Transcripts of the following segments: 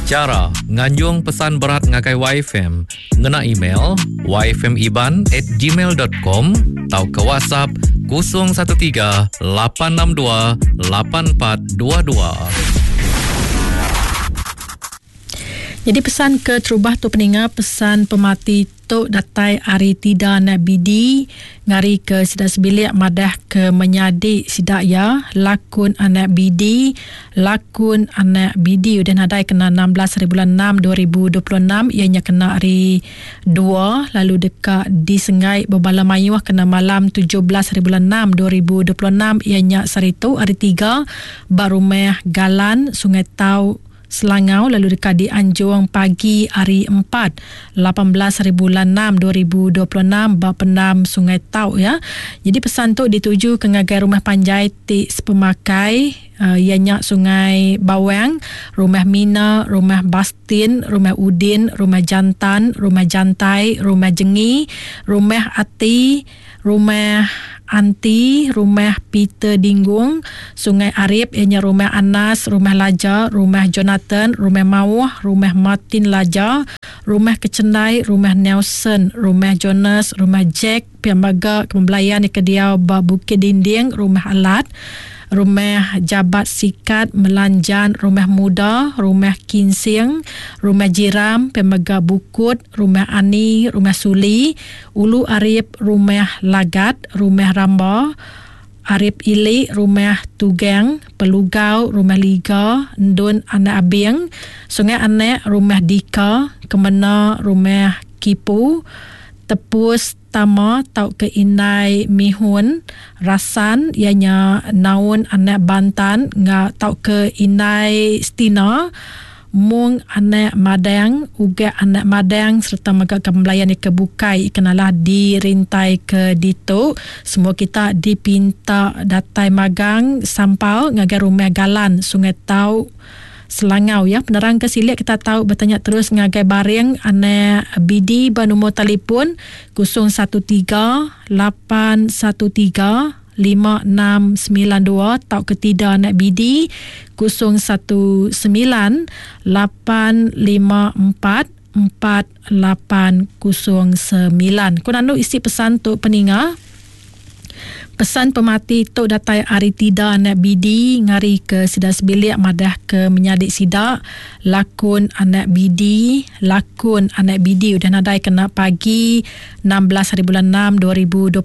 Chara nganjung pesan berat ngagai YFM ngena email yfmiban@gmail.com tauka WhatsApp 013 862 8422. Jadi pesan ke terubah tu peninga pesan pemati tu datai ari Tida anak Bidi ngari ke sida sebilik madah ke menyadi sida iya lakun anak Bidi lakun anak Bidi udah nadai kena 16 hari bulan 6 2026 iya nya kena hari dua lalu deka disenggai bebala mayuh kena malam 17 hari bulan 6 2026 iya nya sehari tu hari tiga ba rumah Galan Sungai Tau Selangau lalu deka dianjung pagi hari Empat, 18 hari bulan 6 2026 ba pendam Sungai Tau ya. Jadi pesan tu dituju ke ngagai rumah panjai ti sepemakai uh, iya nya Sungai Bawang, Rumah Mina, Rumah Bastin, Rumah Udin, Rumah Jantan, Rumah Jantai, Rumah Jengi, Rumah Ati, Rumah Anti, Rumah Peter Dinggung, Sungai Arip iya nya Rumah Anas, Rumah Laja, Rumah Jonathan, Rumah Mauh, Rumah Martin Laja, Rumah Kechendai, Rumah Nelson, Rumah Jonas, Rumah Jack, pia mega kebelayan ke diau ba Bukit Dinding, Rumah Alat, Rumah Jabat Sikat, Melanjan, Rumah Muda, Rumah Kinsing, Rumah Jiram, pia mega Bukut, Rumah Ani, Rumah Suli, Ulu Arip, Rumah Lagat, Rumah Ramba, Arip Ili, Rumah Tugang, Pelugau, Rumah Liga, Endun Anak Abing, Sungai Anak, Rumah Dika, Kemena, Rumah Kipu, Tepus Tama tauka Indai Mihun, Rasan iya nya Naun Anak Bantan enggau tauka Indai Stina, Mung anak Madang, Ugak anak Madang sereta mega ke belayan ke bukai ikan alah dirintai ke ditu. Semua kita dipinta datai magang sampal ngagai Rumah Galan, Sungai Tau, Selangau ya. Penerang ke silik kita tau betanya terus ngagai Baring anak BD ba nombor telefon 013 813 5692 tauka tida anak BD 019 854 4809. Ku nandu isi pesan tu peninga. Pesan pemati tu datai ari tida anak BD ngari ke sida sebilik madah ke menyadi sida lakun anak BD lakun anak BD udah nadai kena pagi 16 hari bulan 6 2026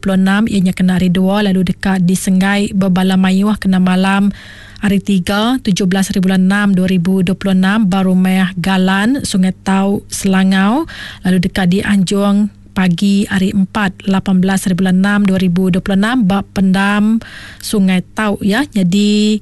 iya nya kena hari dua lalu deka disenggai bebala mayuh kena malam hari tiga 17 hari bulan 6 2026 ba Rumah Galan Sungai Tau Selangau lalu deka dianjung pagi hari 4 18 hari bulan 6 2026 ba Pendam Sungai Tau ya. Jadi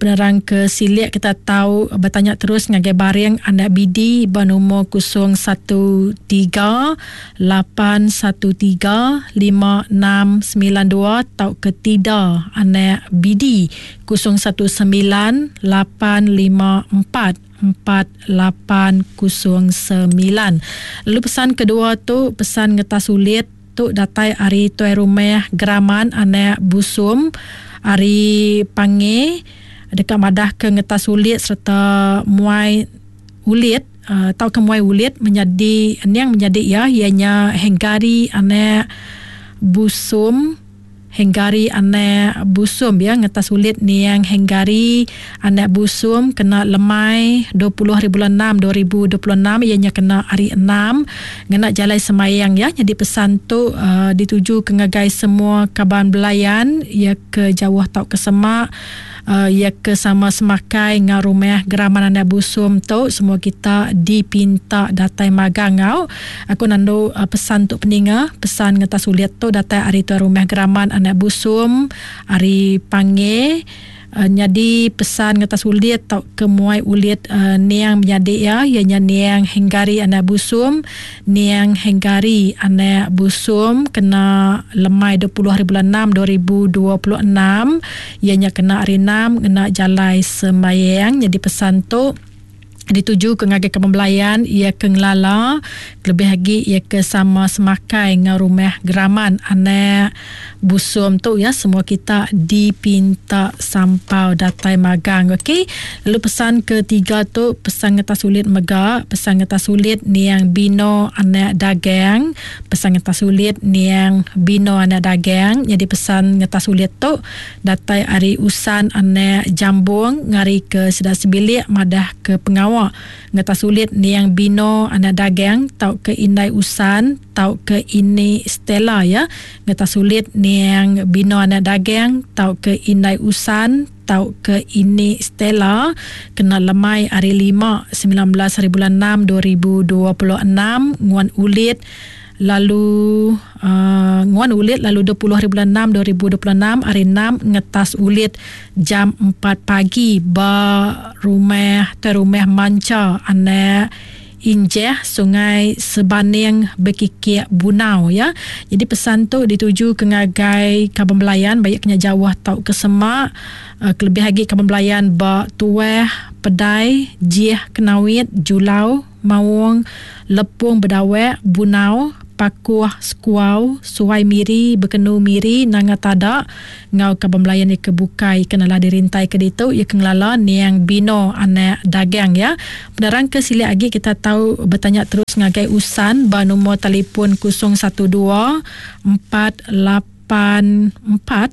penerang ke silik kita tau betanya terus ngagai Baring anak BD ba nombor 013 813 5692 tauka Tida anak BD 019 854 4809. Lalu pesan kedua tu pesan ngetas ulit tu datai ari tuai rumah Geraman anak Busum ari Pange deka madah ke ngetas ulit sereta muai ulit uh, tauka muai ulit menyadi niang menyadi iya iya nya Hengari anak Busum Henggari anak Busum ya ngetas ulit niang Henggari anak Busum kena lemai 20 hari bulan 6 2026 iya nya kena hari 6 ngena jalai semayang ya nyadi pesan tu uh, dituju ke ngagai semua kaban belayan ya ke jauh tauka semak uh, iya ke sama semakai enggau rumah Geraman Anak Busum tu semua kita dipinta datai magang enggau aku nandu uh, pesan tu peninga pesan ngetas ulit tu datai ari tuan rumah Geraman Anak Busum ari Pange uh, nyadi pesan ngetas ulit tau ke muai ulit uh, niang menyadi iya iya nya niang Henggari Anak Busum Niang Hengari anak Busum kena lemai 20 hari bulan 6 2026 iya nya kena hari 6 ngena jalai sembayang nyadi pesan tu. Dituju ke ngagai kaban belayan iya ke ngelala kelebih agi iya ke sama semakai enggau rumah Geraman anak Busum tu ya semua kita dipinta sampau datai magang ok. Lalu pesan ke tiga tu pesan ngetas ulit mega pesan ngetas ulit niang Bino anak Dagang pesan ngetas ulit niang Bino anak Dagang nyadi pesan ngetas ulit tu Datai ari Usan anak Jambung ngari ke sida sebilik madah ke pengawa ngetas ulit niang Bino anak Dagang tauka indai Usan tauka ini Stella ya ngetas ulit niang Bino anak Dagang tauka indai Usan tauka ini Stella kena lemai ari lima 19 haribulan 6 2026 nguan ulit lalu uh, nguan ulit lalu 20 hari bulan 6 2026 hari 6 ngetas ulit jam 4 pagi ba rumah te rumah Mancha anak Injeh Sungai Sebaning Bekikik Bunau ya. Jadi pesan tu dituju ke ngagai kaban belayan baik kena jauh tau ke semak uh, kelebih lagi kaban belayan ba Tuah, Pedai, Jih, Kenawit, Julau, Maung, Lepung Bedawek, Bunau, Pakuh, Sekuau, Suai Miri, Bekenu Miri, Nanga Tada enggau kaban belayan iya ke bukai ke nala dirintai ke ditu iya ke ngelala niang Bino anak Dagang iya. Penerang ke silik agi kita tau betanya terus ngagai Usan ba numur talipun 012 48 8 4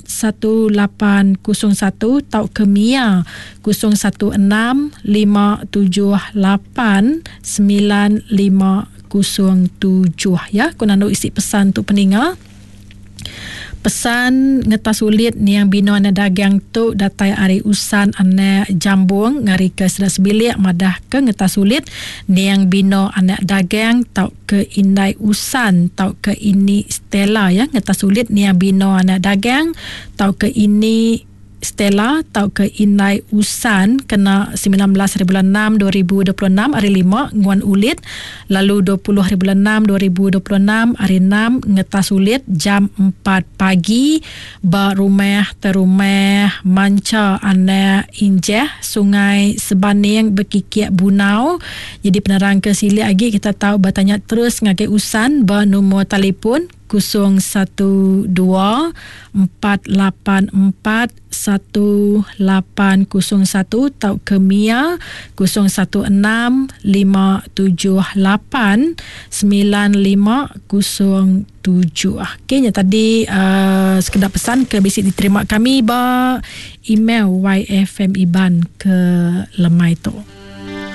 1 8 0 1 tauka mia 0 1 6 5 7 8 9 5 0 7 ya. Ku nandu isi pesan tu peninga. Pesan ngetas ulit niang bino anak dagang tu datai ari Usan anak Jambung ngari ke sida sebilik madah ke ngetas ulit niang bino anak dagang tauka ke indai Usan tauka ini Stella ya ngetas ulit nia Bino anak dagang tauka ini Stella tauka indai Usan kena 19 hari bulan 6 2026 hari 5 nguan ulit lalu 20 hari bulan 6 2026 hari 6 ngetas ulit jam 4 pagi ba rumah terumah Mancha anak Injeh Sungai Sebaning Bekikik Bunau. Jadi penerang ke silik agi kita tau betanya terus ngagai Usan ba numur talipun 012 484 1801 tauka mia 016 578 95 7. Okey nya tadi uh, sekeda pesan ke bisi diterima kami ba email YFM Iban ke lemai tu.